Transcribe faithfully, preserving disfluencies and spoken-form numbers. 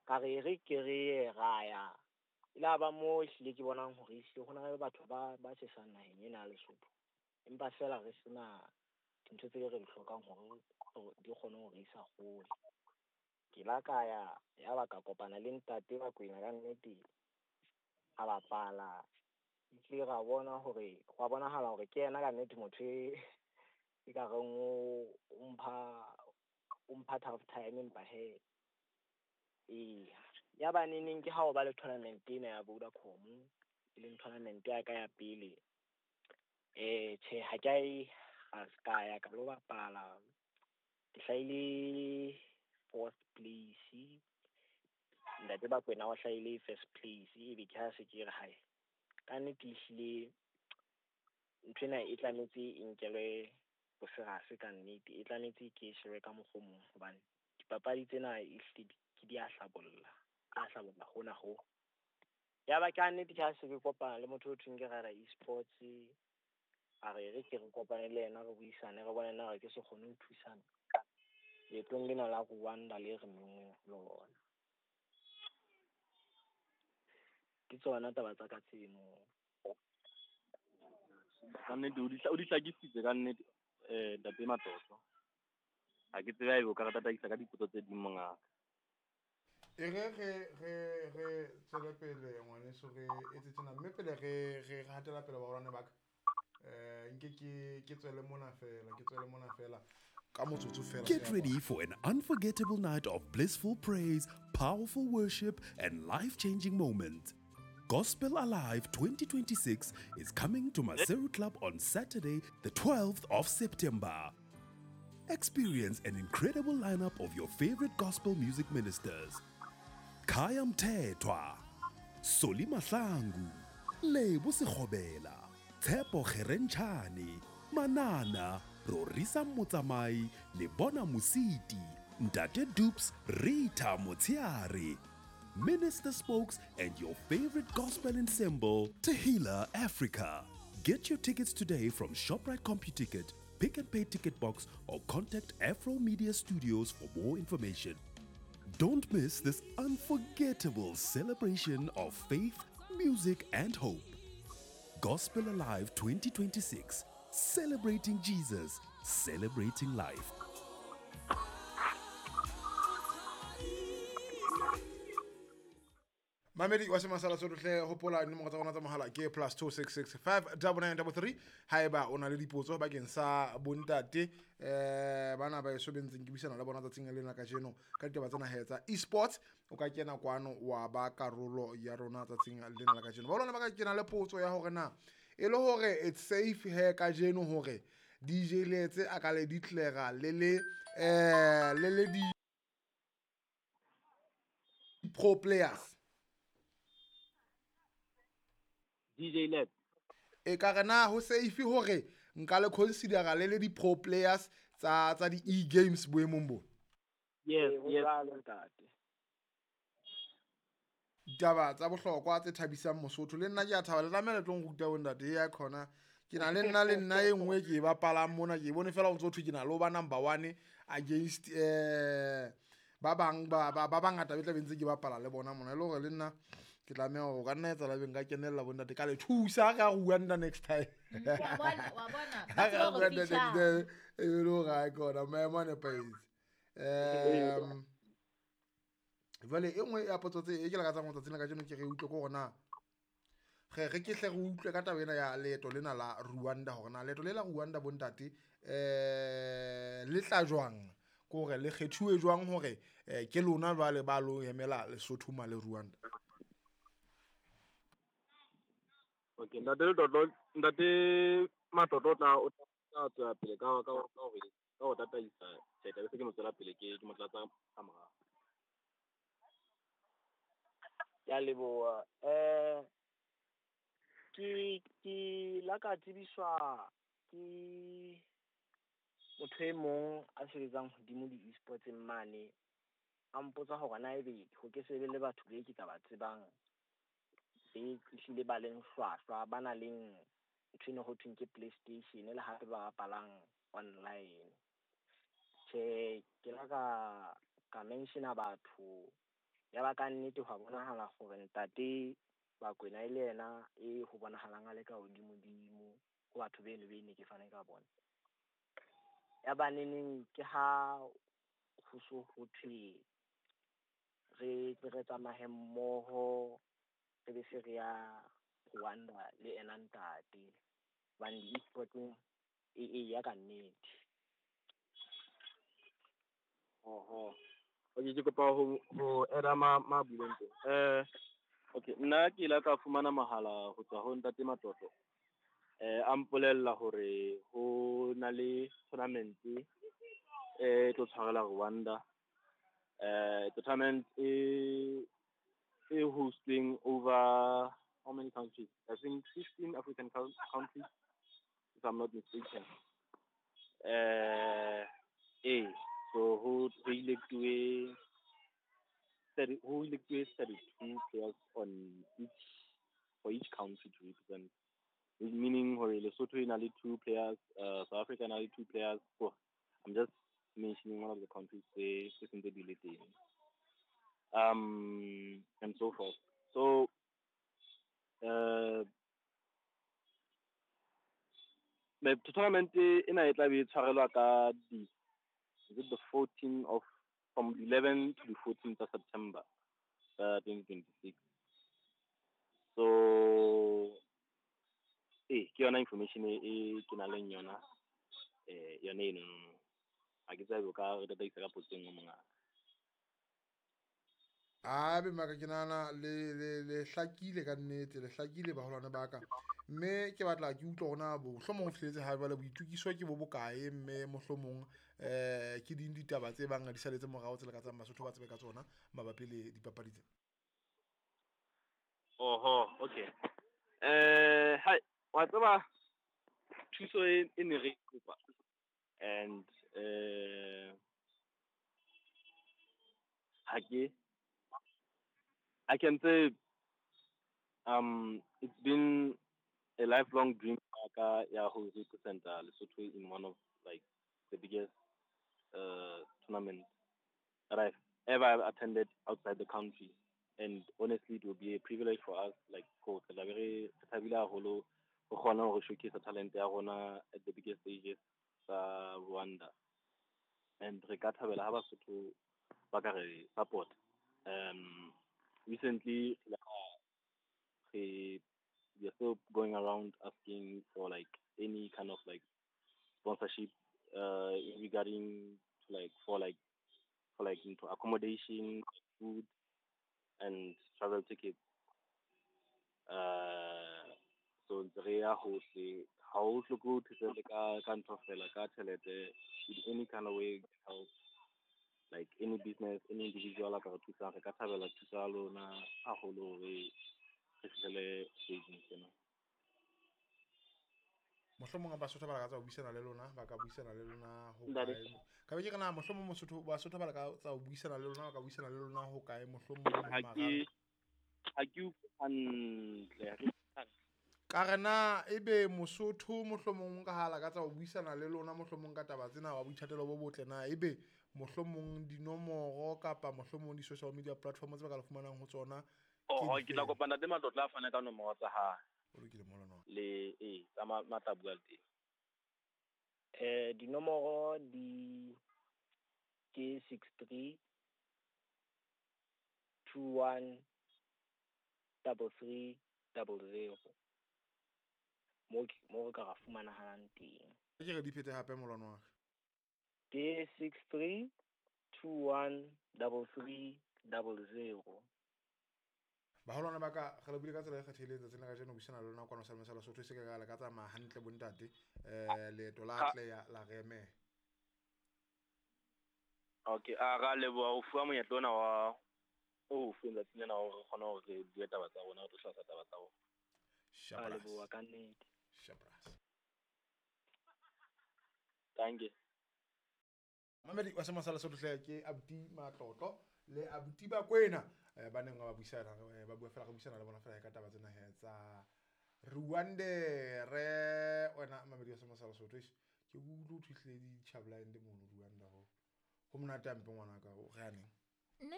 Ka re re ke re ye ra ya. E la ba moo ehlile ke bonang hore ehlile ho na le batho ba ba tjhesang naheng ena ya Lesotho. Empa feela re sena dintho tse re di hlokang hore di kgone ho re isa hole. Ke la ka ya, ya ba ka kopana le ntate Bakwena ka nnete, a bapala. Ehlile ra bona hore hwa bonahala hore ke yena ka nnete motho e e ka reng o o mpha o mpha tough time empa hee eya. Ya ba neneng ke ha o ba le tournament ena ya Vodacom, e leng tournament ya ka ya pele. Eh tjhe ha ke a e ka ya ka lo bapala. Ke hlahile fourth place. Ntate Bakwena o hlahile first place, ebe ke ha se ke re hae ka nnete ehlile nthwena e tlametse e nkelwe bo serious ka nnete, e tlametse ke shebe ka mokgwa o mong hobane dipapadi tsena ehlile ke di a hlabolla, di a hlabolla hona ho. Ya ba ka nnete ke ha se ke kopana le motho o thweng ke Rada eSports, a re re ke re kopane le yena re buisane re bone na re ke se kgone ho thusana leetong lena la Rwanda le re menngweng ho lona. Ke tsona taba tsa ka tseno. Ka nnete o di o di hlakisitse ka nnete eh ntate Matlotlo. Ha ke tsebe haebe o ka re tataisa ka dipotso tse ding mongaka. E re re re re tswele pele ngwaneso re etse tjena mme pele re re hatela pele baholwane ba ka. Eh nke ke ke tswele mona fela, ke tswele mona fela ka motsotso fela. Get ready for an unforgettable night of blissful praise, powerful worship, and life-changing moments. Gospel Alive twenty twenty-six is coming to Maseru Club on Saturday, the twelfth of September. Experience an incredible lineup of your favorite gospel music ministers. Khaya Mthethwa, Solly Mahlangu, Lebo Sekgobela, Tshepo Kgerentshane, Manana, Rorisa Motsamai, Lebona Mositi, Ntate Dupes, Rita Motsiare, Minister Spokes, and your favorite gospel ensemble, Tehila Africa. Get your tickets today from ShopRite CompuTicket, Pick and Pay Ticket Box, or contact Afro Media Studios for more information. Don't miss this unforgettable celebration of faith, music, and hope. Gospel Alive twenty twenty-six, celebrating Jesus, celebrating life. Mamedi wa Semasala Sotlhe, hopola dinomoro tsa rona tsa mohala ke plus two six six five double nine double three. Haeba o na le dipotso bakeng sa bontate eh bana ba eso bentseng ke buisana le bona tsatsing lena kajeno ka ditaba tsena he tsa eSports, o ka kena kwano wa ba karolo ya rona tsatsing lena la kajeno. Ba lona ba ka kena le potso ya hore na e le hore it's safe he kajeno hore D J Letse a ka le declare le le eh le le di pro players. D J Lab. E ka re na ho safe hore nka le consider le le di pro players tsa tsa di e-games boemong bo? Yes, yes. Ditaba tsa bohlokwa tse thabisang Mosotho le nna ke a thaba le tlamehile tlong ruta bo ntate ya khona. Ke na le nna le nna e nngwe ke e bapalang mona ke bone fela o ntso thwe ke na le ba number one against eh ba bang ba ba bangata be tla bentse ke bapala le bona mona e le hore le nna ke tlameha hore ka nna etsa la beng ka kenella bo ntate ka le thusa ka Rwanda next time. Wa bona, wa bona. Ka Rwanda next time e le hore ha kona maemo a nepahetse. Um jwale e nngwe ya potso tse e ke lakatsang ho tsatsing la kajeno ke re utlwe ko hore na re re ke hle re utlwe ka taba ena ya leeto lena la Rwanda hore na leeto le la Rwanda bo ntate eh le tla jwang, ko hore le kgethuwe jwang hore ke lona jwale ba lo emela Lesotho ma le Rwanda. Okay, ntate Letlotlo, ntate Matlotlo tla o tla tswela pele ka ka ka hore ka ho tataisa tjhe se ke mo tswela pele ke ke mo tlatsa ka morao. Ya leboha. Eh ke ke la ka tsebiswa ke motho e mong a sebetsang hodimo di-eSports mane, a mpotsa hore na ebe ho ke se be le batho be ke ka ba tsebang be ehlile ba leng hlwahlwa, ba nang le ntho eno ho thweng ke PlayStation le hape ba bapalang online. Tjhe, ke la ka ka mention-a batho Ya ba ka nnete hwa bonahala hore ntate Bakwena e le yena e ho bonahalang a le ka hodimodimo ho batho beno be ne ke fane ka bona. Ya ba neneng ke ha ho so ho thwe re tle re tsamaye mmoho, re be se re ya Rwanda le ena ntate. Hobane di-e-sporting e eya ka nnete. Oho. Okay, ke kopa ho ho add-a ma ma buileng teng. Eh okay, nna ke ile ka fumana mohala ho tswa ho ntate Matlotlo. Eh a mpolella hore ho na le tournament e tlo tshwarela Rwanda. Eh tournament e e hosting over how many countries? I think fifteen African countries, if I'm not mistaken. Eh eh so ho ho elect-uwe thirty ho elect-uwe thirty-two players on each for each country to represent. Meaning hore Lesotho e na le two players, uh, South Africa e na le two players. So I'm just mentioning one of the countries tse tse sentse di le teng. Um and so forth. So uh tournament ena e tla be e tshwarelwa ka di is it the fourteenth of from eleven to the fourteenth of September uh, twenty twenty-six. So eh ke yona information e e ke nang le yona eh yone eno no no. Ha ke tsebe o ka re tataisa ka potso e nngwe mongaka. Abe maka ke nahana le le le hlakile ka nnete, le hlakile baholwane ba ka. Mme ke batla ke utlwe hore na mohlomong ho fihletse ha jwale boitukiso ke bo bokae, mme mohlomong eh ke ding ditaba tse bang di saletse morao tse le ka tsang Basotho ba tsebe ka tsona mabapi le dipapadi tsena. Oho, okay. Eh hai, wa tseba thuso e e ne re e kopa and eh ha ke I can say um it's been a lifelong dream ya ka ya ho represent-a Lesotho in one of like the biggest uh tournament that I've ever attended outside the country. And honestly, it will be a privilege for us, like, ko re tla be re re thabile haholo ho kgona hore showcase talent ya rona at the biggest stages tsa Rwanda. And re ka thabela ha Basotho ba ka re support. Um recently re we are still going around asking for like any kind of like sponsorship uh regarding to like for like for like into accommodation, food and travel tickets. Uh so ntse re ya hohle, ha o hloke ho thusa le ka ka ntho fela ka tjhelete, in any kind of way help, like any business, any individual a ka re thusang, re ka thabela thuso ya lona haholo hore re fihlele stageng sena. Mohlomong Basotho ba lakatsa ho buisana le lona, ba ka buisana le lona ho Ntate. kae? Ka be ke re na mohlomong Mosotho Basotho ba lakatsa ho buisana le lona, ba ka buisana le lona ho kae mohlomong Ha marang? ke ha ke utlwe hantle, ha ke utlwe hantle. Ka re na ebe Mosotho mohlomong ka ha lakatsa ho buisana le lona mohlomong ka taba tsena wa boithatelo bo botle na ebe mohlomong dinomoro kapa mohlomong di-social media platform tse ba ka le fumanang ho tsona ke Oho, ke tla difeng? kopa ntate Matlotlo a fane ka nomoro tsa hae. O lokile molwana wa ka. Le eh tsa ma ma tla bua le teng. Eh dinomoro di ke six three two one double three double zero. Mo ke- mo re ka ra fumanahalang teng. Ke re di phete hape molwana wa ka. Ke six three two one double three double zero. Baholwane ba ka re le buile ka tsela e kgethehileng tsatsing la kajeno ho buisana le lona kwano Salome sa Lesotho e se ke ka le ka tsamaya hantle bontate. Eh leeto la Ha atleha la re emela. Okay, a ra leboha ho fuwa monyetla ona wa o fuweng tsatsing lena hore re kgone hore re bue taba tsa rona, re tlo hlalosa taba tsa rona. Ra Shabras. leboha ka nnete. Shabras. Danke. Mamedi wa Sema sa Lesotho hle ke Abuti Matlotlo le Abuti Bakwena eh, ba neng ba buisana eh, ba bua fela re buisana le bona fela ka taba tsena he tsa Rwanda. Re wena mamedi wa Sema sa Lesotho eish, ke utlwe ho thwe hlile di-chabline mono Rwanda ho ho monate hampe ngwanaka o re aneng. Nne